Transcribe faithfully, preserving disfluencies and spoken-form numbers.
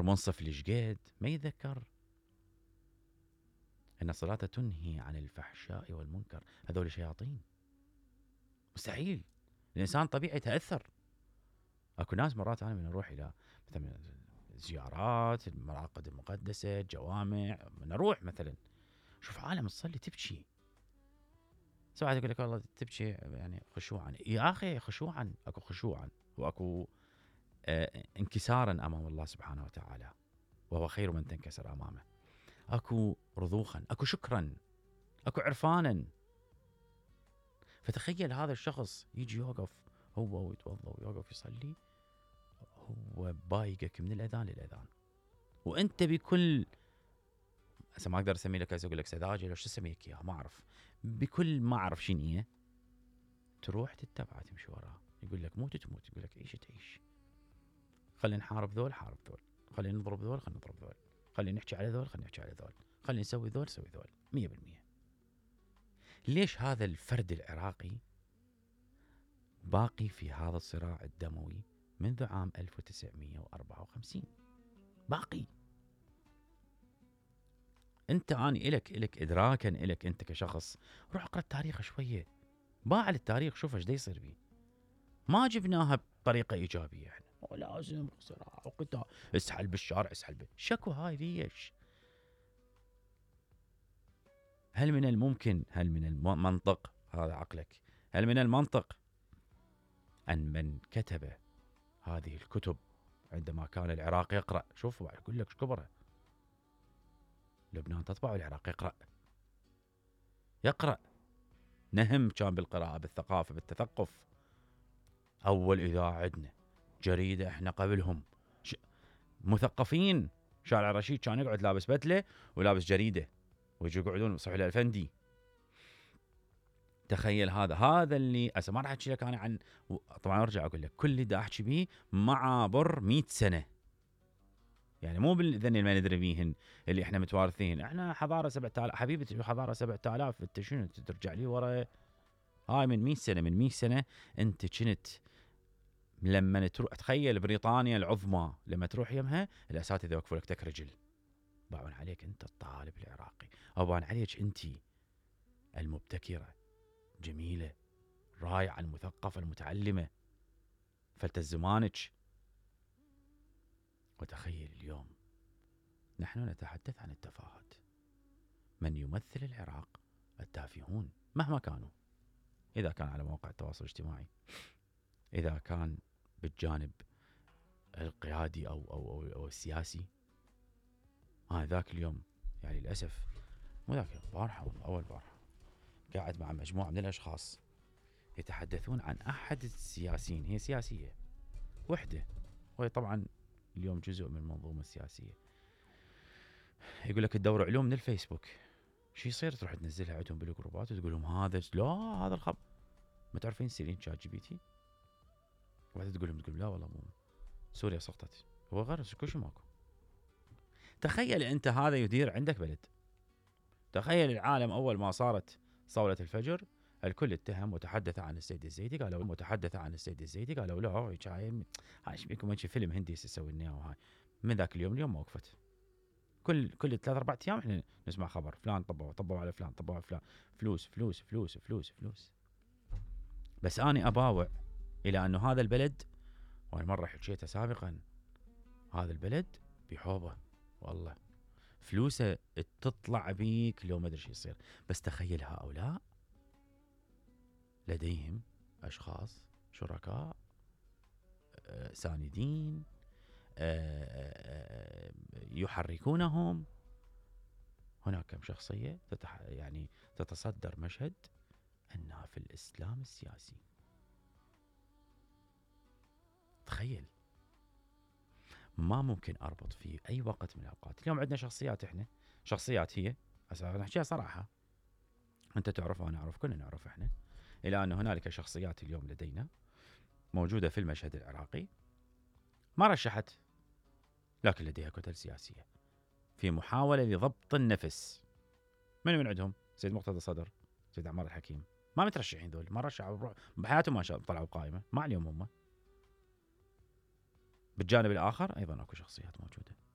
منصف لشقد ما يتذكر ان الصلاة تنهي عن الفحشاء والمنكر. هذول شياطين، مستحيل. الانسان طبيعي يتاثر. اكو ناس مرات انا من اروح الى مثلا زيارات المراقد المقدسه، جوامع، من اروح مثلا شوف عالم تصلي تبكي، سواء يقول لك والله تبكي يعني خشوعا. يا اخي خشوعا، اكو خشوعا واكو آه انكسارا امام الله سبحانه وتعالى، وهو خير من تنكسر امامه. اكو رضوخا، اكو شكرا، اكو عرفانا. فتخيل هذا الشخص يجي يوقف هو ويتوضا ويوقف يصلي، هو بايقك من الاذان للاذان، وانت بكل هسه ما اقدر اسمي لك، اقول لك سذاجه لو شو اسميك اياها ما اعرف، بكل ما اعرف شنو هي تروح تتبعه تمشي وراه. يقول لك موت تموت، يقول لك عيش تعيش. خلينا نحارب ذول حارب ذول، خلينا نضرب ذول خلينا نضرب ذول، خلينا نحكي على ذول خلينا نحكي على ذول، خلينا نسوي ذول نسوي ذول. مية بالمية. ليش هذا الفرد العراقي باقي في هذا الصراع الدموي منذ عام ألف وتسعمية وأربعة وخمسين؟ باقي. انت اني الك الك ادراكا الك انت كشخص، روح اقرا التاريخ شويه، باع للتاريخ، شوف ايش دا يصير بيه. ما جبناها بطريقه ايجابيه احنا، لازم صراع وقتال، اسحل بالشارع اسحل بال... شكو هاي ليش؟ هل من الممكن، هل من المنطق، هذا عقلك، هل من المنطق ان من كتب هذه الكتب عندما كان العراق يقرأ، شوف اقول لك كبره، لبنان تطبع والعراق يقرأ يقرأ نهم كان بالقراءة بالثقافة بالتثقف. أول إذاعة عندنا، جريدة إحنا قبلهم، ش... مثقفين. شارع رشيد كان يقعد لابس بدلة ولابس جريدة ويجوا يقعدون صحيح الأفندي. تخيل هذا هذا اللي أسا ما راح أحكي لك أنا عن، طبعا أرجع أقول لك كل اللي دا أحكي بيه معابر مئة سنة، يعني مو بالذن اللي ما ندري بيهن اللي احنا متوارثين. احنا حضاره سبعة آلاف حبيبتي، حضاره سبعة آلاف، انت شنو ترجع لي ورا؟ هاي من مئة سنه، من مئة سنه انت كنت لما تروح تخيل بريطانيا العظمى لما تروح يمها الاساتذه يوقفوا لك تك رجل، باعون عليك انت الطالب العراقي، او باعون عليك انت المبتكره جميله رائعه المثقفه المتعلمه فلت زمانك. وتخيل اليوم نحن نتحدث عن التفاهات. من يمثل العراق؟ التافهون مهما كانوا، إذا كان على مواقع التواصل الاجتماعي، إذا كان بالجانب القيادي أو, أو, أو, أو السياسي. أنا آه ذاك اليوم يعني للأسف مو ذاك البارحة والله أول بارحة قاعد مع مجموعة من الأشخاص يتحدثون عن أحد السياسيين، هي سياسية وحدة وهي طبعا اليوم جزء من المنظومة السياسية. يقول لك تدور علوم من الفيسبوك، شو يصير تروح تنزلها عندهم بالجروبات وتقول لهم هذا لا هذا الخبر، ما تعرفين تسالين شات جي بي تي، وبعدين تقول لهم تقول لا والله مو سوريا سقطت، هو غير كل شيء ماكو. تخيل انت هذا يدير عندك بلد. تخيل العالم اول ما صارت صولة الفجر الكل اتهم وتحدث عن السيد الزيدي، قالوا متحدث عن السيد الزيدي، قالوا لا هاي هاي ايش بيكم انت فيلم هندي يسوي لنا وهاي. من ذاك اليوم اليوم ما وقفت. كل كل ثلاث اربع ايام احنا نسمع خبر فلان طبوا طبوا على فلان طبوا على فلان، فلوس فلوس فلوس فلوس فلوس. بس اني اباوع الى انه هذا البلد، وانا مره حكيتها سابقا، هذا البلد بحوضه والله فلوسه تطلع بيك لو ما ادري شو يصير. بس تخيل هؤلاء لديهم اشخاص شركاء آه ساندين آه يحركونهم. هناك كم شخصية تتح... يعني تتصدر مشهد أنها في الإسلام السياسي. تخيل، ما ممكن أربط في أي وقت من الأوقات. اليوم عندنا شخصيات، إحنا شخصيات هي نحكيها صراحة، أنت تعرف وأنا أعرف كلنا نعرف إحنا، إلى أن هنالك شخصيات اليوم لدينا موجودة في المشهد العراقي ما رشحت، لكن لديها كتل سياسية في محاولة لضبط النفس. من من عندهم؟ سيد مقتدى صدر، سيد عمار الحكيم، ما مترشحين ذول، ما رشحوا بحياتهم، ما شاء طلعوا قائمة، ما عليهم هم. بالجانب الآخر أيضا أكو شخصيات موجودة